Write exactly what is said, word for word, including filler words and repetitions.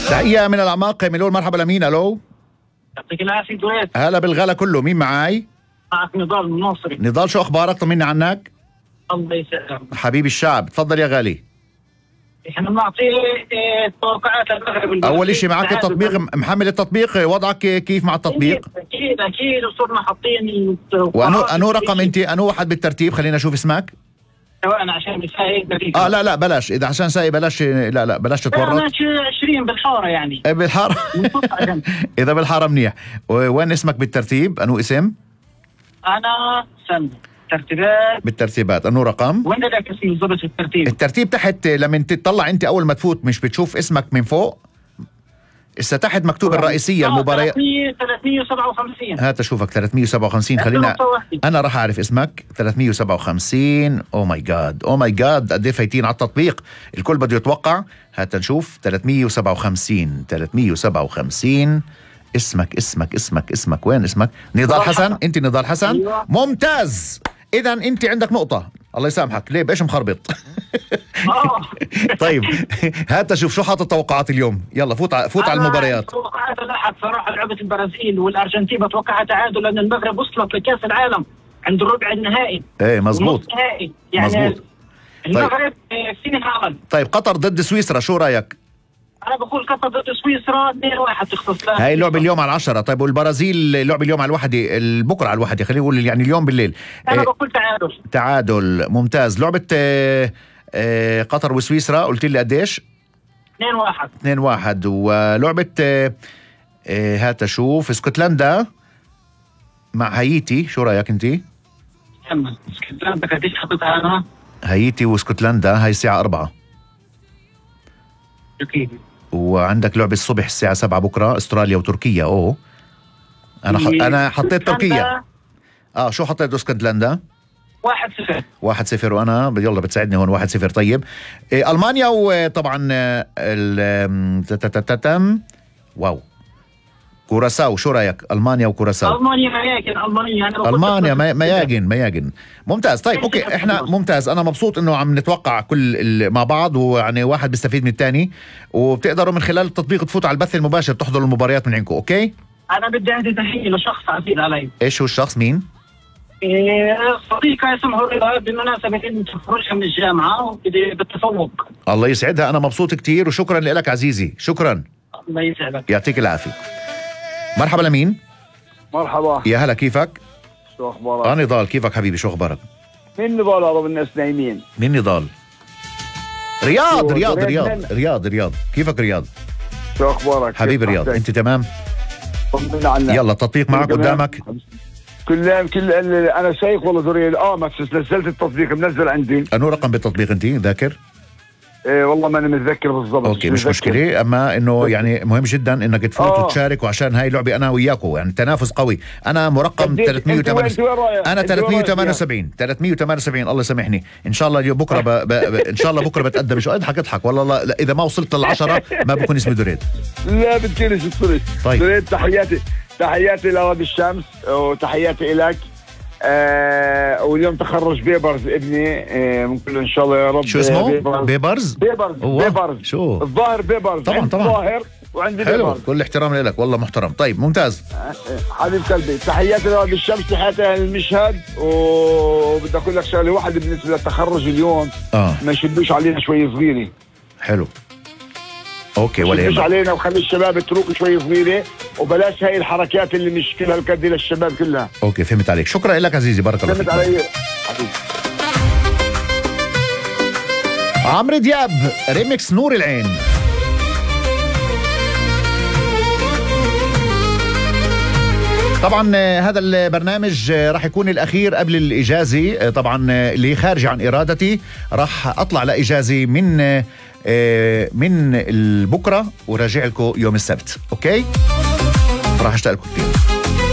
تحية من الأعماق ملول. مرحبا لمين؟ ألو. يعطيك العافية دويت. هلا بالغلا كله. مين معاي؟ معك نضال الناصري. نضال، شو أخبارك؟ طمني عنك. الله يسلمك حبيبي الشعب، تفضل يا غالي. احنا بنعطي توقعات المغرب. أول إشي معك التطبيق، محمل التطبيق، وضعك كيف مع التطبيق؟ أكيد أكيد وصرنا حاطين. وأنو أنو رقم أنت؟ أنو واحد بالترتيب؟ خلينا نشوف اسمك. أنا عشان بسايق دقيقة. آه لا لا بلاش، إذا عشان سايق بلاش، لا لا بلاش تتورط. أنا عشرين بالحارة يعني. بالحارة. إذا بالحارة منيح. وين اسمك بالترتيب؟ أنو اسم؟ أنا سن ترتيبات. بالترتيبات. أنو رقم؟ وين بدك اسمي بالضبط الترتيب؟ الترتيب تحت لما تطلع أنت أول ما تفوت، مش بتشوف اسمك من فوق؟ إسا تحت مكتوب الرئيسية المباريات. ثلاثمية وسبعة وخمسين. هات أشوفك. ثلاثمية وسبعة وخمسين. خلينا أنا راح أعرف اسمك. ثلاثمية وسبعة وخمسين. أو ماي جاد أو ماي جاد قد إيه فايتين على التطبيق، الكل بده يتوقع. هات نشوف. ثلاثمية وسبعة وخمسين. ثلاثمية وسبعة وخمسين. اسمك اسمك اسمك اسمك وين اسمك؟ نضال حسن. أنت نضال حسن. أيوة. ممتاز. إذا أنت عندك نقطة. الله يسامحك. ليه بإيش مخربط؟ طيب هات شوف شو حاطط توقعات اليوم. يلا فوت ع... فوت على المباريات. توقعات الأحد صراحة لعبة البرازيل والأرجنتين بتوقعها تعادل، لأن المغرب وصلت لكأس العالم عند الربع النهائي. ايه مزبوط النهائي يعني مزبوط. المغرب فيني عمل. طيب قطر ضد سويسرا، شو رايك؟ أنا بقول قطر ضد سويسرا اثنين واحد تختص لها. هاي اللعبة اليوم على العشرة. طيب والبرازيل لعبة اليوم على الواحدة، بكرة على الواحدة، خلينا نقول يعني اليوم بالليل. أنا إيه بقول تعادل. تعادل ممتاز. لعبة إيه إيه قطر وسويسرا قلت لي قديش؟ اثنين واحد. اثنين واحد. ولعبة إيه إيه هات اشوف اسكتلندا مع هايتي، شو رايك انتي؟ كمل. اسكتلندا قديش حطيتها انا؟ هايتي واسكتلندا هاي الساعة أربعة. أكيد. وعندك لعبة الصبح الساعة سبعة بكرة، استراليا وتركيا. اوه انا ح... انا حطيت تركيا. اه شو حطيت اسكتلندا؟ واحد صفر. واحد صفر. وانا يلا بتساعدني هون. واحد صفر. طيب إيه المانيا وطبعا ال تتتتم واو كوراساو، شو رايك؟ المانيا وكوراساو. المانيا مياجن. المانيا أنا المانيا مياجن مياجن. ممتاز. طيب اوكي احنا ممتاز. انا مبسوط انه عم نتوقع كل مع بعض، ويعني واحد بيستفيد من الثاني، وبتقدروا من خلال التطبيق تفوتوا على البث المباشر تحضروا المباريات من عندكم. اوكي انا بدي اهدي تحيه لشخص عزيز علي. ايش هو الشخص؟ مين؟ إيه صديقة اسمه رضا، بمناسبة انت تخرجها من الجامعة وبدي بالتفوق. الله يسعدها. انا مبسوط كتير وشكرا لك عزيزي. شكرا. الله يسعدك. يعطيك العافية. مرحبا لمين؟ مرحبا. يا هلا كيفك؟ شو اخبارك؟ انا نضال. كيفك حبيبي؟ شو اخبارك؟ مين نضال هذا الناس نايمين؟ مين نضال؟ رياض رياض رياض رياض رياض. كيفك رياض؟ شو اخبارك حبيبي رياض؟ انت تمام؟ طمنا عنك. يلا التطبيق معك قدامك. كل كل انا شايف والله ذري. اه ما نزلت التطبيق، منزل عندي. انو رقم بالتطبيق انت ذاكر؟ إيه والله ما انا متذكر بالضبط. اوكي مش مشكله، اما انه يعني مهم جدا انك تفوت آه. وتشارك، وعشان هاي لعبه انا وياكم يعني تنافس قوي. انا مرقم ثلاثمية وثمانية وسبعين. انا ثلاثمية وثمانية وسبعين. ثلاثمية وثمانية وسبعين. الله يسامحني. ان شاء الله اليوم بكره ب... ب... ب... ان شاء الله بكره بتقدم. شو اضحك اضحك والله لا, لا اذا ما وصلت للعشرة ما بكون اسمي دريد. لا بتكونش الطريق. طيب دريد. تحياتي تحياتي لواد الشمس وتحياتي لك. آه واليوم تخرج بيبرز ابني. آه ممكن ان شاء الله يا رب. شو اسمه؟ بيبرز بيبرز بيبرز, بيبرز. شو الظاهر بيبرز. طبعا طبعا الظاهر وعندي حلو. بيبرز. كل احترام لك والله محترم. طيب ممتاز. آه حبيب قلبي. تحياتي لواد الشمس، تحياتي للمشهد. وبدي اقول لك شغله واحده بالنسبه للتخرج اليوم. اه ما يشدوش علينا شوي صغيره. حلو اوكي ولا يهمك. يهمك علينا وخلي الشباب تروق شوي صغيره، وبلاش هاي الحركات اللي مش كلها القد للشباب كلها. اوكي فهمت عليك. شكرا لك عزيزي. بارك الله فيك. فهمت علي حبيبي. عمرو دياب ريميكس نور العين. طبعا هذا البرنامج راح يكون الأخير قبل الإجازة. طبعا اللي خارج عن إرادتي راح أطلع لإجازة من من البكرة وراجع لكم يوم السبت. أوكي راح أشتاق لكم كتير.